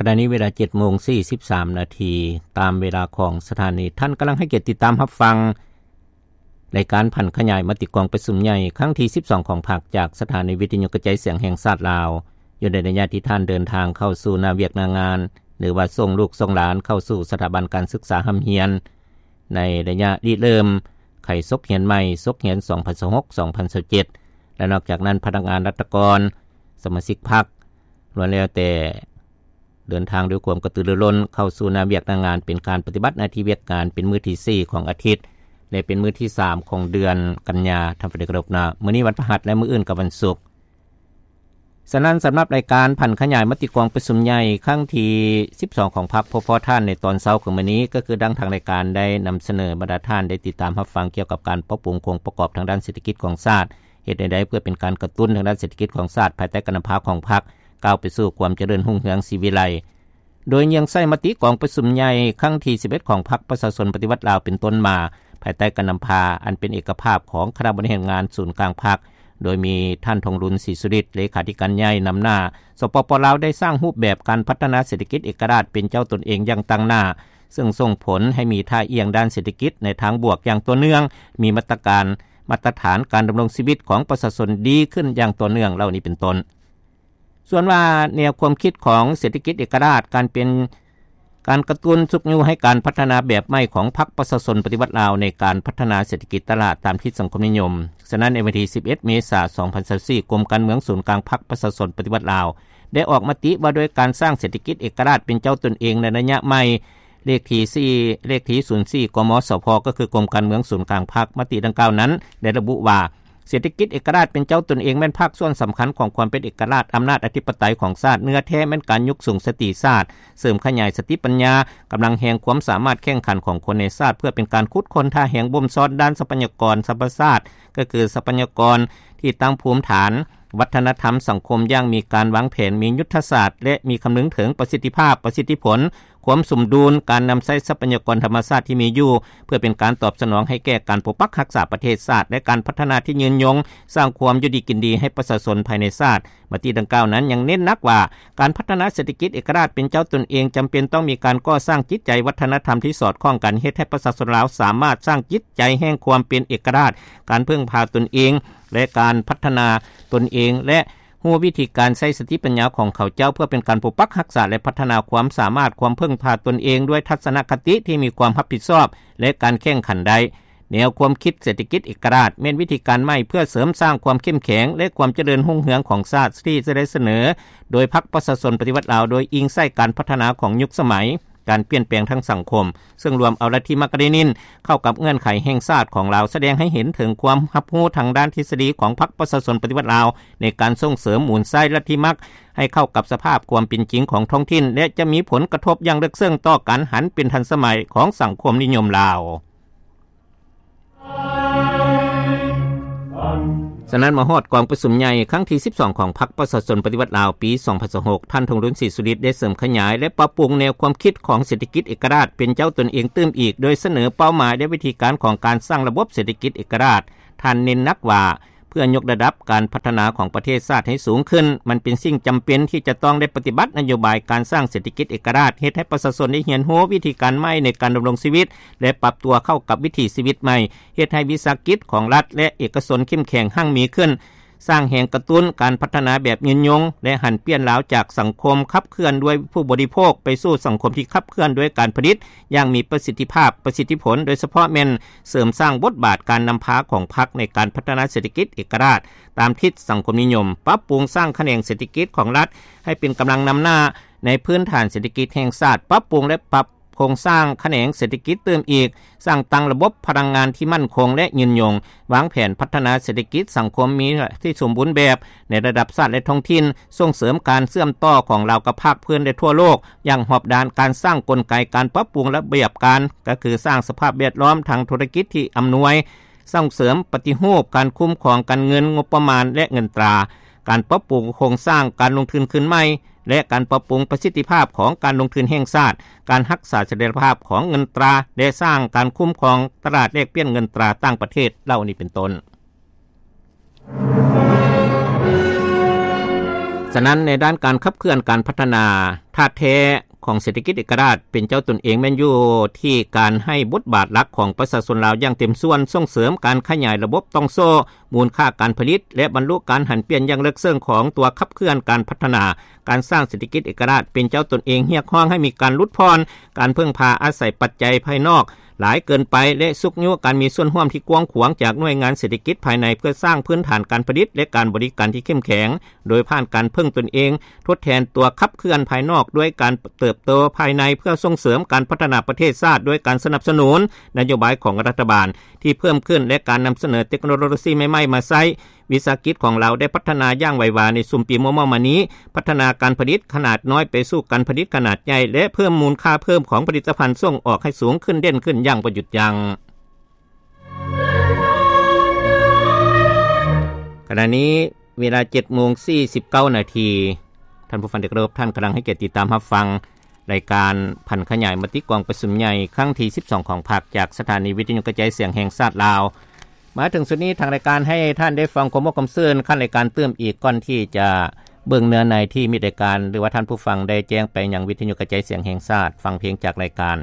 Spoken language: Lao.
ຂະນະນີ້ເວລາເຈັດໂມງສີ່ສິບສາມນາທີ ຕາມເວລາຂອງສະຖານີ. ທ່ານກຳລັງໃຫ້ກຽດຕິດຕາມຮັບຟັງ ລາຍການຜັນຂະຫຍາຍມະຕິກອງປະຊຸມໃຫຍ່ຄັ້ງທີສິບສອງຂອງພັກ ຈາກສະຖານີວິທະຍຸກະຈາຍສຽງແຫ່ງຊາດລາວ, ຢູ່ໃນໄລຍະທີ່ທ່ານເດີນທາງເຂົ້າສູ່ໜ້າວຽກໜ້າງານ ຫຼືວ່າສົ່ງລູກສົ່ງຫຼານເຂົ້າສູ່ສະຖາບັນການສຶກສາຮ່ຳຮຽນ ໃນໄລຍະລິເລີ່ມໄຂສົກຮຽນໃໝ່ ສົກຮຽນສອງພັນຊາວຫົກ ສອງພັນຊາວເຈັດ ແລະ ນອກຈາກນັ້ນ ພະນັກງານລັດຖະກອນ ສະມາຊິກພັກ ລ້ວນແລ້ວແຕ່ເດີນທາງດ້ວຍຄວາມກະຕືລືລົ້ນເຂົ້າສູ່ໜ້າວຽກໜ້າງານ ເປັນການປະຕິບັດໜ້າທີ່ວຽກງານເປັນມື້ທີສີ່ຂອງອາທິດ ແລະ ເປັນມື້ທີສາມຂອງເດືອນກັນຍາ. ທ່ານຜູ້ໃດເຄົາລົບນະ, ມື້ນີ້ວັນພະຫັດ ແລະ ມື້ອື່ນກໍວັນສຸກ. ສະນັ້ນ ສຳລັບລາຍການຜັນຂະຫຍາຍມະຕິກອງປະຊຸມໃຫຍ່ຄັ້ງທີສິບສອງຂອງພັກ ພວກພວກທ່ານໃນຕອນເຊົ້າຂອງມື້ນີ້ ກໍຄືດັ່ງທາງລາຍການໄດ້ນຳສະເໜີ ບັນດາທ່ານໄດ້ຕິດຕາມຮັບຟັງກ່ຽວກັບການປັບປຸງໂຄງປະກອບທາງດ້ານເສດຖະກິດຂອງຊາດ ເຮັດແນວໃດເພື່ອເປັນການກະຕຸ້ນທາງດ້ານເສດຖະກິດຂອງຊາດ ພາຍໃຕ້ການນຳພາຂອງພັກ ກ້າວໄປສູ່ຄວາມຈະເລີນຮຸ່ງເຮືອງສີວິໄລ ໂດຍເຍືອງໃສ່ມະຕິກອງປະຊຸມໃຫຍ່ຄັ້ງທີສິບເອັດຂອງພັກປະຊາຊົນປະຕິວັດລາວເປັນຕົ້ນມາ ພາຍໃຕ້ການນຳພາອັນເປັນເອກະພາບຂອງຄະນະບໍລິຫານງານສູນກາງພັກ ໂດຍມີທ່ານ ທອງລຸນ ສີສຸລິດ ເລຂາທິການໃຫຍ່ນຳໜ້າ. ສປປ ລາວ ໄດ້ສ້າງຮູບແບບການພັດທະນາເສດຖະກິດເອກະລາດເປັນເຈົ້າຕົນເອງຢ່າງຕັ້ງໜ້າ ເຊິ່ງສົ່ງຜົນໃຫ້ມີທ່າອ່ຽງດ້ານເສດຖະກິດໃນທາງບວກຢ່າງຕໍ່ເນື່ອງ, ມີມາດຕະການ ມາດຕະຖານການດຳລົງຊີວິດຂອງປະຊາຊົນດີຂຶ້ນຢ່າງຕໍ່ເນື່ອງເຫຼົ່ານີ້ເປັນຕົ້ນ. ສ່ວນວ່າແນວຄວາມຄິດຂອງເສດຖະກິດເອກະລາດ ການເປັນ ການກະຕຸ້ນຊຸກຍູ້ໃຫ້ການພັດທະນາແບບໃໝ່ຂອງພັກປະຊາຊົນປະຕິວັດລາວ ໃນການພັດທະນາເສດຖະກິດຕະຫຼາດຕາມທິດສັງຄົມນິຍົມ. ສະນັ້ນ ໃນວັນທີສິບເອັດເມສາສອງພັນຊາວສີ່ ກົມການເມືອງສູນກາງພັກປະຊາຊົນປະຕິວັດລາວ ໄດ້ອອກມະຕິວ່າດ້ວຍການສ້າງເສດຖະກິດເອກະລາດເປັນເຈົ້າຕົນເອງໃນໄລຍະໃໝ່ ເລກທີສີ່ ເລກທີສູນສີ່ ກມສພ ກໍຄືກົມການເມືອງສູນກາງພັກ. ມະຕິດັ່ງກ່າວນັ້ນໄດ້ລະບຸວ່າ ເສດຖະກິດເອກະລາດເປັນເຈົ້າຕົນເອງແມ່ນພາກສ່ວນສຳຄັນຂອງຄວາມເປັນເອກະລາດອຳນາດອະທິປະໄຕຂອງຊາດ. ເນື້ອແທ້ແມ່ນການຍົກສູງສະຕິຊາດ, ເສີມຂະຫຍາຍສະຕິປັນຍາ, ກຳລັງແຮງ, ຄວາມສາມາດແຂ່ງຂັນຂອງຄົນໃນຊາດ ເພື່ອເປັນການຂຸດຄົ້ນທ່າແຮງບົ່ມຊ້ອນດ້ານຊັບພະຍາກອນທຳມະຊາດ, ກໍຄືຊັບພະຍາກອນທີ່ຕັ້ງພູມຖານ, ວັດທະນະທຳ, ສັງຄົມຢ່າງມີການວາງແຜນ, ມີຍຸດທະສາດ ແລະ ມີຄຳນຶງເຖິງປະສິດທິພາບ, ປະສິດທິຜົນ, ຄວາມສົມດຸນ, ການນຳໃຊ້ຊັບພະຍາກອນທຳມະຊາດທີ່ມີຢູ່ ເພື່ອເປັນການຕອບສະໜອງໃຫ້ແກ່ການປົກປັກຮັກສາປະເທດຊາດ ແລະ ການພັດທະນາທີ່ຍືນຍົງ, ສ້າງຄວາມຢູ່ດີກິນດີໃຫ້ປະຊາຊົນພາຍໃນຊາດ. ມະຕິດັ່ງກ່າວນັ້ນຍັງເນັ້ນໜັກວ່າ ການພັດທະນາເສດຖະກິດເອກະລາດເປັນເຈົ້າຕົນເອງ ຈຳເປັນຕ້ອງມີການກໍ່ສ້າງຈິດໃຈວັດທະນະທຳທີ່ສອດຄ່ອງກັນ, ເຮັດໃຫ້ປະຊາຊົນລາວສາມາດສ້າງຈິດໃຈແຫ່ງຄວາມເປັນເອກະລາດ, ການເພິ່ງພາຕົນເອງ ແລະ ການພັດທະນາຕົນເອງ ແລະ ຮູ້ວິທີການໃຊ້ສະຕິປັນຍາຂອງເຂົາເຈົ້າ ເພື່ອເປັນການປົກປັກຮັກສາ ແລະ ພັດທະນາຄວາມສາມາດ, ຄວາມເພິ່ງພາຕົນເອງດ້ວຍທັດສະນະຄະຕິທີ່ມີຄວາມຮັບຜິດຊອບ ແລະ ການແຂ່ງຂັນໄດ້. ແນວຄວາມຄິດເສດຖະກິດເອກະລາດ ແມ່ນວິທີການໃໝ່ເພື່ອເສີມສ້າງຄວາມເຂັ້ມແຂງ ແລະ ຄວາມຈະເລີນຮຸ່ງເຮືອງຂອງຊາດ ທີ່ຈະໄດ້ສະເໜີໂດຍພັກປະຊາຊົນປະຕິວັດລາວ ໂດຍອີງໃສ່ການພັດທະນາຂອງຍຸກສະໄໝ, ການປ່ຽນແປງທາງສັງຄົມ, ເຊິ່ງລວມເອົາລັດທິມາກກາເຣນິນເຂົ້າກັບເງື່ອນໄຂແຫ່ງຊາດຂອງລາວ, ສະແດງໃຫ້ເຫັນເຖິງຄວາມຮັບຮູ້ທາງດ້ານທິດສະດີຂອງພັກປະຊາຊົນປະຕິວັດລາວ ໃນການສົ່ງເສີມໝູນໃຊ້ລັດທິມັກໃຫ້ເຂົ້າກັບສະພາບຄວາມເປັນຈິງຂອງທ້ອງຖິ່ນ ແລະ ຈະມີຜົນກະທົບຢ່າງເລິກເຊິ່ງຕໍ່ການຫັນເປັນທັນສະໄໝຂອງສັງຄົມນິຍົມລາວ. ສະນັ້ນ ມາຮອດກອງປະຊຸມໃຫຍ່ຄັ້ງທີສິບສອງຂອງພັກປະຊາຊົນປະຕິວັດລາວ ປີສອງພັນຊາວຫົກ ທ່ານ ທອງລຸນ ສີສຸລິດ ໄດ້ເສີມຂະຫຍາຍ ແລະ ປັບປຸງແນວຄວາມຄິດຂອງເສດຖະກິດເອກະລາດເປັນເຈົ້າຕົນເອງຕື່ມອີກ ໂດຍສະເໜີເປົ້າໝາຍ ແລະ ວິທີການຂອງການສ້າງລະບົບເສດຖະກິດເອກະລາດ. ທ່ານເນັ້ນໜັກວ່າ ເພື່ອຍົກລະດັບການພັດທະນາຂອງປະເທດຊາດໃຫ້ສູງຂຶ້ນ, ມັນເປັນສິ່ງຈຳເປັນທີ່ຈະຕ້ອງໄດ້ປະຕິບັດນະໂຍບາຍການສ້າງເສດຖະກິດເອກະລາດ, ເຮັດໃຫ້ປະຊາຊົນໄດ້ຮຽນຮູ້ວິທີການໃໝ່ໃນການດຳລົງຊີວິດ ແລະ ປັບຕົວເຂົ້າກັບວິຖີຊີວິດໃໝ່, ເຮັດໃຫ້ວິສາຫະກິດຂອງລັດ ແລະ ເອກະຊົນເຂັ້ມແຂງຮັ່ງມີຂຶ້ນ, ສ້າງແຮງກະຕຸ້ນການພັດທະນາແບບຍືນຍົງ ແລະ ຫັນປ່ຽນລາວຈາກສັງຄົມຂັບເຄື່ອນດ້ວຍຜູ້ບໍລິໂພກ ໄປສູ່ສັງຄົມທີ່ຂັບເຄື່ອນດ້ວຍການຜະລິດຢ່າງມີປະສິດທິພາບ, ປະສິດທິຜົນ, ໂດຍສະເພາະແມ່ນເສີມສ້າງບົດບາດການນຳພາຂອງພັກໃນການພັດທະນາເສດຖະກິດເອກະລາດ ຕາມທິດສັງຄົມນິຍົມ, ປັບປຸງສ້າງຂະແໜງເສດຖະກິດຂອງລັດໃຫ້ເປັນກຳລັງນຳໜ້າໃນພື້ນຖານເສດຖະກິດແຫ່ງຊາດ, ປັບປຸງ ແລະ ປັບໂຄງສ້າງຂະແໜງເສດຖະກິດຕື່ມອີກ, ສ້າງຕັ້ງລະບົບພະລັງງານທີ່ໝັ້ນຄົງ ແລະ ຍືນຍົງ, ວາງແຜນພັດທະນາເສດຖະກິດສັງຄົມມີທີ່ສົມບູນແບບໃນລະດັບຊາດ ແລະ ທ້ອງຖິ່ນ, ສົ່ງເສີມການເຊື່ອມຕໍ່ຂອງລາວກັບພາກພື້ນ ແລະ ທົ່ວໂລກຢ່າງຮອບດ້ານ, ການສ້າງກົນໄກການປັບປຸງລະບຽບການ, ກໍຄືສ້າງສະພາບແວດລ້ອມທາງທຸລະກິດທີ່ອຳນວຍ, ສົ່ງເສີມປະຕິຮູບການຄຸ້ມຄອງການເງິນ, ງົບປະມານ ແລະ ເງິນຕາ, ການປັບປຸງໂຄງສ້າງການລົງທຶນຄືນໃໝ່ ແລະ ການປັບປຸງປະສິດທິພາບຂອງການລົງທຶນແຫ່ງຊາດ, ການຮັກສາສະຖຽນລະພາບຂອງເງິນຕາ ແລະ ສ້າງການຄຸ້ມຄອງຕະຫຼາດແລກປ່ຽນເງິນຕາຕ່າງປະເທດເຫຼົ່ານີ້ເປັນຕົ້ນ. ສະນັ້ນ ໃນດ້ານການຂັບເຄື່ອນການພັດທະນາ ທ່າແທ້ຂອງເສດຖະກິດເອກະລາດເປັນເຈົ້າຕົນເອງ ແມ່ນຢູ່ທີ່ການໃຫ້ບົດບາດຫຼັກຂອງປະຊາຊົນລາວຢ່າງເຕັມສ່ວນ, ສົ່ງເສີມການຂະຫຍາຍລະບົບຕ່ອງໂສ້ມູນຄ່າການຜະລິດ ແລະ ບັນລຸການຫັນປ່ຽນຢ່າງເລິກເຊິ່ງຂອງຕົວຂັບເຄື່ອນການພັດທະນາ, ການສ້າງເສດຖະກິດເອກະລາດເປັນເຈົ້າຕົນເອງ, ຮຽກຮ້ອງໃຫ້ມີການຫຼຸດຜ່ອນການເພິ່ງພາອາໄສປັດໄຈພາຍນອກ ຫຼາຍເກີນໄປ ແລະ ຊຸກຍູ້ການມີສ່ວນຮ່ວມທີ່ກວ້າງຂວາງຈາກໜ່ວຍງານເສດຖະກິດພາຍໃນ ເພື່ອສ້າງພື້ນຖານການຜະລິດ ແລະ ການບໍລິການທີ່ເຂັ້ມແຂງ ໂດຍຜ່ານການເພິ່ງຕົນເອງ ທົດແທນຕົວຂັບເຄື່ອນພາຍນອກ ດ້ວຍການເຕີບໂຕພາຍໃນ ເພື່ອສົ່ງເສີມການພັດທະນາປະເທດຊາດ ດ້ວຍການສະໜັບສະໜູນນະໂຍບາຍຂອງລັດຖະບານທີ່ເພີ່ມຂຶ້ນ ແລະ ການນຳສະເໜີເຕັກໂນໂລຊີໃໝ່ໆມາໃຊ້. ວິສາຫະກິດຂອງລາວໄດ້ພັດທະນາຢ່າງໄວວາໃນຊຸມປີມໍ່ໆມານີ້, ພັດທະນາການຜະລິດຂະໜາດນ້ອຍໄປສູ່ການຜະລິດຂະໜາດໃຫຍ່ ແລະ ເພີ່ມມູນຄ່າເພີ່ມຂອງຜະລິດຕະພັນສົ່ງອອກໃຫ້ສູງຂຶ້ນເດັ່ນຂຶ້ນຢ່າງບໍ່ຢຸດຢັ້ງ. ຂະນະນີ້ເວລາເຈັດໂມງສີ່ສິບເກົ້ານາທີ. ທ່ານຜູ້ຟັງທີ່ເຄົາລົບ, ທ່ານກຳລັງໃຫ້ກຽດຕິດຕາມຮັບຟັງ ລາຍການຜັນຂະຫຍາຍມະຕິກອງປະຊຸມໃຫຍ່ຄັ້ງທີສິບສອງຂອງພັກ ຈາກສະຖານີວິທະຍຸກະຈາຍສຽງແຫ່ງຊາດລາວ. ມາເຖິງຊຸດນີ້ ທາງລາຍການໃຫ້ທ່ານໄດ້ຟັງຄວາມມ່ວນຄວາມຊື່ນຂັ້ນລາຍການຕື່ມອີກ ກ່ອນທີ່ຈະເບິ່ງເນື້ອໃນທີ່ມິດລາຍການ ຫຼືວ່າທ່ານຜູ້ຟັງໄດ້ແຈ້ງໄປຍັງວິທະຍຸກະຈາຍສຽງແຫ່ງຊາດ. ຟັງເພງຈາກລາຍການ.